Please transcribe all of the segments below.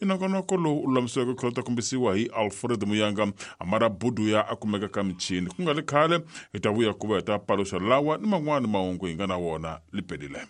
I nongonoko lowu u lulamisiweke ku tlhela kombisiwa hi Alfred Muyanga Amara Buduya a kumeka ka michini. Ku nga ri khale hi ta vuya ku va hi ta paluxa lawa ni man'wana mahungu hi nga na wona lipelile.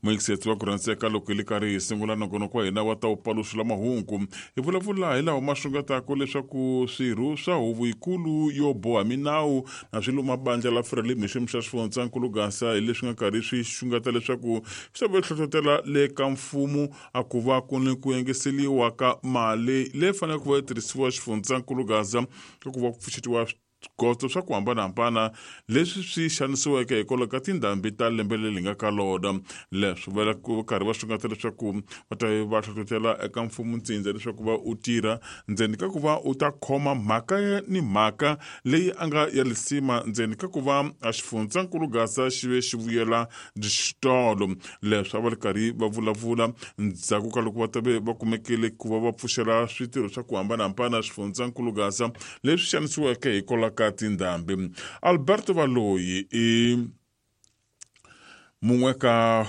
Muyingisetsi wa ku rhandzeka, loko hi le karhi hi sungula nongonoko wa hina wa ta wu paluxula mahungu, hi vulavula hi lawa ma xungetaka leswaku swirho swa huvo yikulu yo boha minawu na swilo mabandla la Frelimo hi xiyimo xa xifundzankulu Gasa hi leswi nga karhi swi xungeta leswaku swi ta va hlohlotela le ka mfumo a ku va ku ni ku engeseliwa ka mali leyi faneleke ku va yi tirhisiwa xifundzankulu Gaza ka ku va ku pfuxetiwa swigotso swa ku hambanahambana leswi swi xanisiweke hikwalaho ka tindhambi ta lembe leri nga ka lona. Leswi va ku karhi va xungeta leswaku va ta va hlohlotela eka mfumo ntsindza leswaku va u tirha ndzeni ka ku va u ta khoma mhaka ni mhaka leyi a nga ya lisima ndzeni ka ku va a xifundzankulu Gaza xi ve xi vuyela xitolo. Leswi a va ri karhi va vulavula ndzhaku ka loko va ta ve va kumekile ku va va pfuxela switirho swa ku hambanahambana xifundzankulu Gaza leswi xanisiweke hikwalaho ka tindhambi. Alberto Valoyi i mun'we ka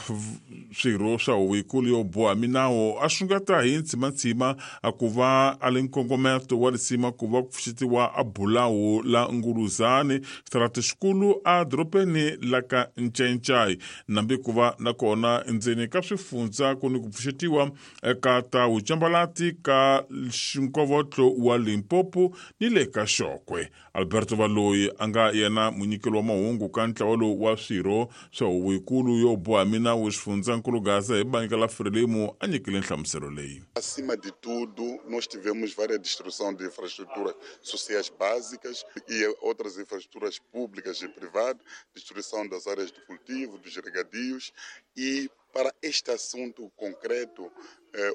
swirho swa huvo yikulu yo boha minawu a xungeta hi ntsimantsima a ku va a le nkongometo wa risima ku va ku pfuxetiwa a bulawu la Nguluzani xitarati xikulu a dorobeni la ka Ncencai nambi ku va nakona endzeni ka swifundza ku ni ku pfuxetiwa eka ta wucambalati ka nkovotlo wa Limpopo ni le ka Xokwe. Alberto Valoyi a nga yena munyikeli wa mahungu ka ntlawa lowu wa swirho swa huvo yikulu yo boha minawu xifundzankulu Gaza hi bandla la Frelimo a nyikile nhlamuselo leyi. Acima de tudo, nós tivemos várias destruição de infraestruturas sociais básicas e outras infraestruturas públicas e privadas, destruição das áreas de cultivo, dos regadios e para este assunto concreto,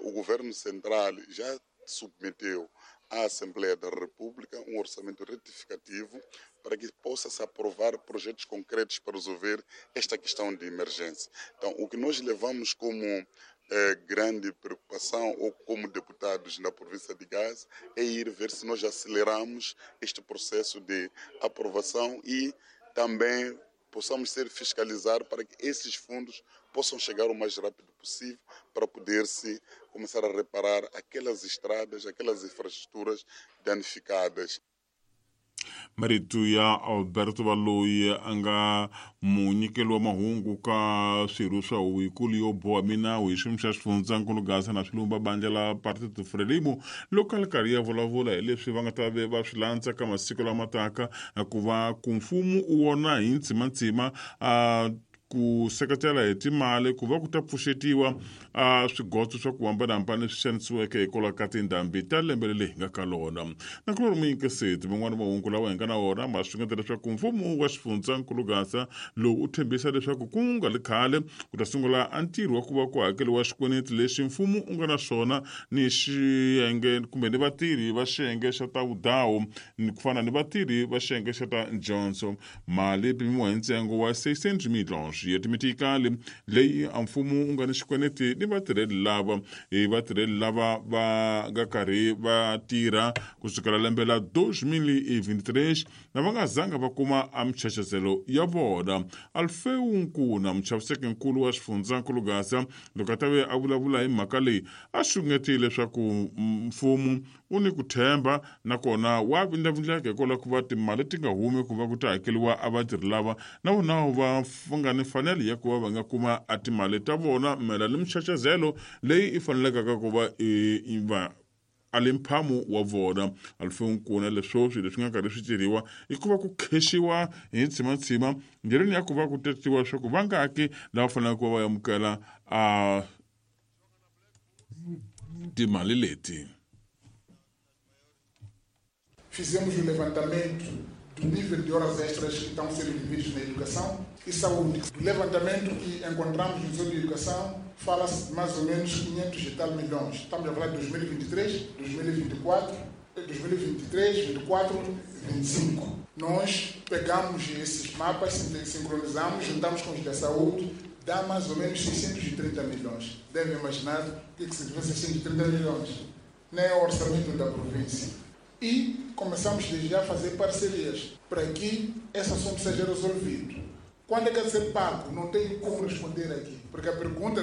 o governo central já submeteu à Assembleia da República um orçamento retificativo para que possa se aprovar projetos concretos para resolver esta questão de emergência. Então, o que nós levamos como grande preocupação ou como deputados na província de Gaza é ir ver se nós aceleramos este processo de aprovação e também possamos ser fiscalizar para que esses fundos possam chegar o mais rápido possível para poder-se começar a reparar aquelas estradas, aquelas infraestruturas danificadas. Marito ya Alberto Valoyi a nga munyikeli wa mahungu ka swirho swa huvo yikulu yo boha minawu hi xiyimo xa xifundzankulu Gaza na swilumba bandla la Partido Frelimo loko a ri karhi ya vulavula hi leswi va nga ta ve va swi landza ka masiku lama taka ku va ku mfumo u wona hi ntsimantsima a ku seketela hi timali ku va ku ta pfuxetiwa a swigotso swa ku hambanahambana leswi xanisiweke hikwalaho ka tindhambi ta lembe leri hi nga ka lona. Na ku ri muyingiseti man'wana mahungu lawa hi nga na wona ma xungeta leswaku mfumo wa xifundzankulu Gaza lowu u tshembisa leswaku ku nga ri khale ku ta sungula a ntirho wa ku va ku hakeriwa xikweleti lexi mfumo u nga na xona ni xiyenge kumbe ni vatirhi va xiyenge xa ta vudawu ni ku fana ni vatirhi va xiyenge xa ta dyondzo. Mali yi pimiwa hi ntsengo wa 600 milhons ya timitikali leyi a mfumo wu nga ni xikweleti ni vatirheli lava hi vatirheli lava va nga karhi va tirha ku sukela lembe la 2023 na va nga zanga va kuma a michachazelo ya vona. Alfeu Nkuna, muchaviseki nkulu wa xifundzankulu Gaza, loko a ta ve a vulavula hi mhaka leyi a xungetile leswaku mfumo u ni ku tshemba nakona wa vindlavindleka hikwalaho ku va timali ti nga humi ku va ku ta hakeriwa a vatirhi lava na vona va nga ni mfanelo ya ku va va nga kuma a timali ta vona mayelana ni michachazelo leyi i fanelekaka ku va i va a le mphamo wa vona. Alfeu Nkuna leswo swilo leswi nga karhi swi tirhiwa i ku va ku khexiwa hi ntsimantsima ndleleni ya ku va ku tatiwa leswaku vangaki lava faneleke ku va va amukela a timali leti. Fizemos o levantamento do nível de horas extras que estão sendo devidos na educação e saúde. Do levantamento que encontramos no setor de educação, fala-se de mais ou menos 500 e tal milhões. Estamos a falar de 2023, 2024, 2023, 2024, 2025. Nós pegamos esses mapas, sincronizamos, juntamos com os da saúde, dá mais ou menos 630 milhões. Devem imaginar o que significa 630 milhões. Nem é o orçamento da província. E começamos desde já a fazer parcerias para que esse assunto seja resolvido. Quando é que é ser pago? Não tenho como responder aqui, porque a pergunta do